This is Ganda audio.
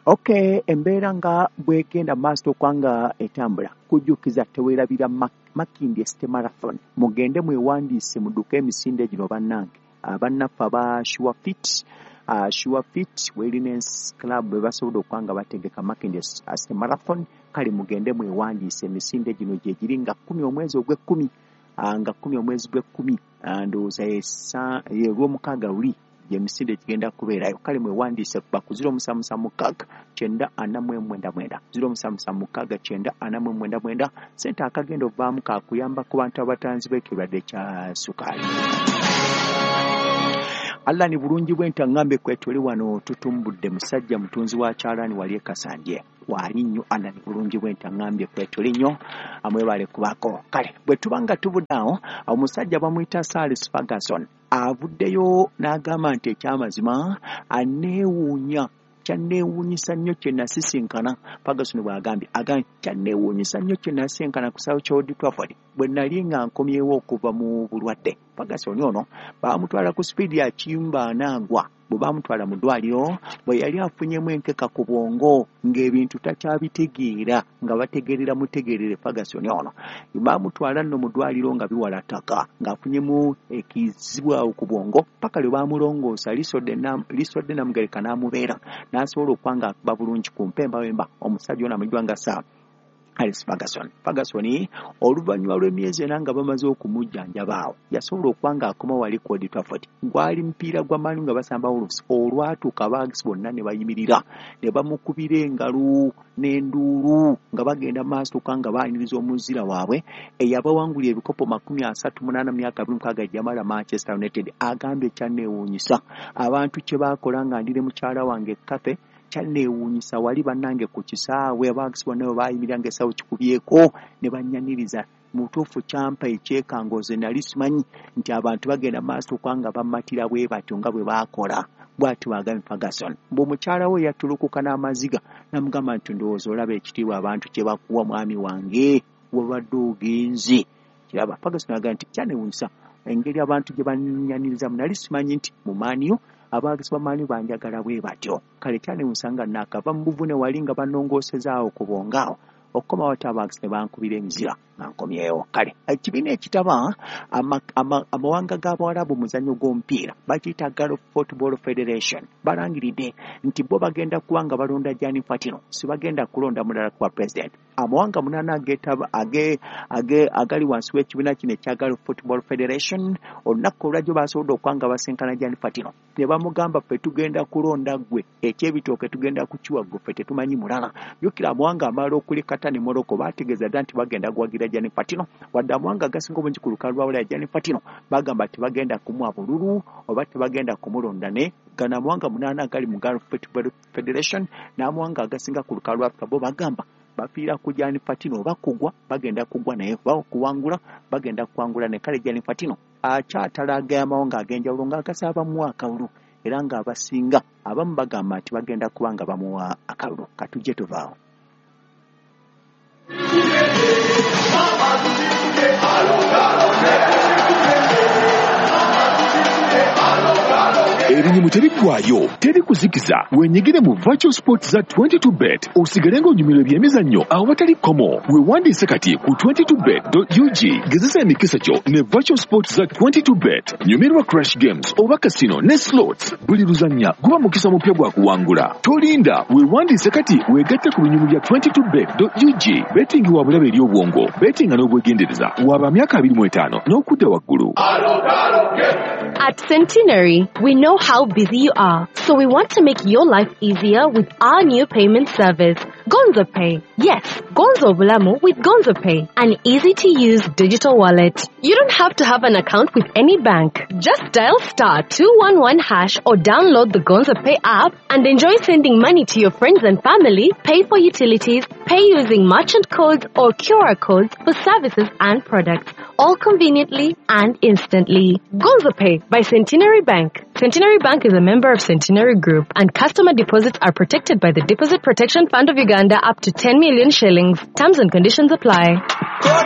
Okay, embeera nga bwegenda maaso okwanga etambula, kujjukiza teweerabira Makindye City Marathon. Mugende mwewandiise mudduke emisinde gino bannange. Bannaffe aba Sure Fit, Sure Fit Wellness Club bwe basobodde okuba nga bategeka Makindye City Marathon. Kale mugende mwewandiise, emisinde gino gye giri nga 10 omwezi ogw'ekkumi, nga 10 omwezi gw'ekkumi, ndowooza ye lwomukaaga luli gyemisinde gigenda kubeerayo. Kale mwewandiise kuba ku 0776 949 9, 0776 949. Sente akagenda ovaamu kakuyamba ku bantu abatanzi b'ekirwadde kya sukaali. Allah ni bulungi bwenta ŋŋambe kwetuli wano tutumbudde musajja mutunzi wa kyalaani wali ekasandye wali nnyo. Allah ni bulungi bwenta ŋŋambye kwetuli nnyo, amwebale kubaako. Kale bwe tuba nga tuvudde awo, omusajja bamuyita Sir Ferguson avuddeyo n'agamba nti ekyamazima aneewuunya, kyanneewuunyisa nnyo kye nasisinkana. Ferguson bw'agambye, agambye kyanneewuunyisa nnyo kye nasisinkana ku South Old Trafford bwe nali nga nkomyewo okuva mu bulwadde. Ferguson ono baamutwala ku sipiidi ya kiyumba anaagwa. Bwe baamutwala mu ddwaliro, bwe yali afunyemu enkeka ku bwongo ng'ebintu takyabitegeera, nga bategeerera mutegeerere. Ferguson ono baamutwala nno mu ddwaliro nga biwala ttaka, ng'afunyemu ekizibu awo ku bwongo, paka lwe baamulongoosa lisodde namugereka n'amubeera n'asobola okuba nga akuba bulungi ku mpembawemba. Omusajja ono amanyiddwa nga Sir Alex Ferguson. Ferguson oluvannyuma lw'emyezi 4 nga bamaze okumujjanjaba awo yasobola okuba ng'akoma wali ku Old Trafford. Gwali mupiira gwa Man U nga basamba Wolves. Olwatuuka abaagisi bonna ne bayimirira ne bamukubira engalo n'enduulu nga bagenda maaso okuba nga baaniriza omuzira waabwe eyabawangulira ebikopo 38 mu myaka 26 gyamala Manchester United. Agambye kyanneewuunyisa abantu kye baakola nga ndire mukyala wange Cafe, kyanneewuunyisa wali bannange ku kisaawe abaagisi bonna bwe baayimirira ng'essaawo kikubyeko ne bannyaniriza. Mu butuufu kyampa ekyekango, nze nali simanyi nti abantu bagenda maaso okuba nga bamatira bwe batyo nga bwe baakola. Bw'atyo bw'agambye Ferguson. Mbu omukyala we yattulukuka n'amaziga n'amugamba nti ndowooza olaba ekitiibwa abantu kye bakuwa, mwami wange, wabadde ogenze kiraba. Ferguson agamba nti kyanneewuunyisa engeri abantu gye bannyanirizamu, nali simanyi nti mu Man U abaagisi ba Man U banjagala bwe batyo. Kale kyanneewuunyisa nga naakava mu buvune wali nga bannongoosezaawo ku bwongo awo, okukomawo ate abaagisi ne bankubira emizira nga nkomyewo. Kale ekibiina ekitaba amawanga g'abawalabu muzannyo gw'omupiira bakiyita Gulf Football Federation balangiridde nti bo bagenda kuba nga balonda Gianni Infantino, si bagenda kulonda mulala kuba president. Amawanga 8 agetaba agali wansi w'ekibiina kino ekya Gulf Football Federation olunaku olwajjo basobodde okuba nga basinkana Gianni Infantino ne bamugamba ffe tugenda kulonda ggwe, ekyebitooke tugenda kukiwa ggwe, ffe tetumanyi mulala. Jjukira amawanga amalala okuli Qatar ne Morocco baategeeza dda nti bagenda kuwagira Gianni Infantino, wadde amawanga agasinga obungi ku lukalu lwa Bulaya Gianni Infantino bagamba tebagenda kumuwa bululu oba tebagenda kumulonda. Ne gano amawanga 8 agali mu Gulf Football Federation n'amawanga agasinga ku lukalu lwa Africa bo bagamba bafiira ku Gianni Infantino, oba kugwa bagenda kugwa naye, oba okuwangula bagenda kuwangula ne. Kale Gianni Infantino akyatalaga amawanga ag'enjawulo ng'agasaba bamuwa akalulu, era ng'abasinga abamu bagamba nti bagenda kuba nga bamuwa akalulu. Katujje tuvaawo. Ebinyumu tebiggwayo, teri kuzikiza. Wenyigire mu virtual sports za 22 Bet osigale ng'onyumirwa ebyemizannyo awatali kkomo. Weewandiise kati ku 22bet.ug. Gezesa emikisa gyo ne virtual sports za 22 Bet. Nyumirwa crash games oba casino ne slots. Buli luzannya guba mukisa mupya gwa kuwangula. Tolinda, weewandiise kati weegatte ku binyumu bya 22bet.ug. Betting wa bulabe eri obwongo. Bettinga n'obwegendereza. Waba myaka 25 n'okudda waggulu. At Centenary, we know how busy you are, so we want to make your life easier with our new payment service, Gonzo Pay. Yes, Gonzo Bulamu with Gonzo Pay, an easy to use digital wallet. You don't have to have an account with any bank. Just dial *211# or download the Gonzo Pay app and enjoy sending money to your friends and family, pay for utilities, pay using merchant codes or QR codes for services and products, all conveniently and instantly. Gonzo Pay by Centenary Bank. Centenary Bank is a member of Centenary Group, and customer deposits are protected by the Deposit Protection Fund of Uganda up to 10 million shillings. Terms and conditions apply.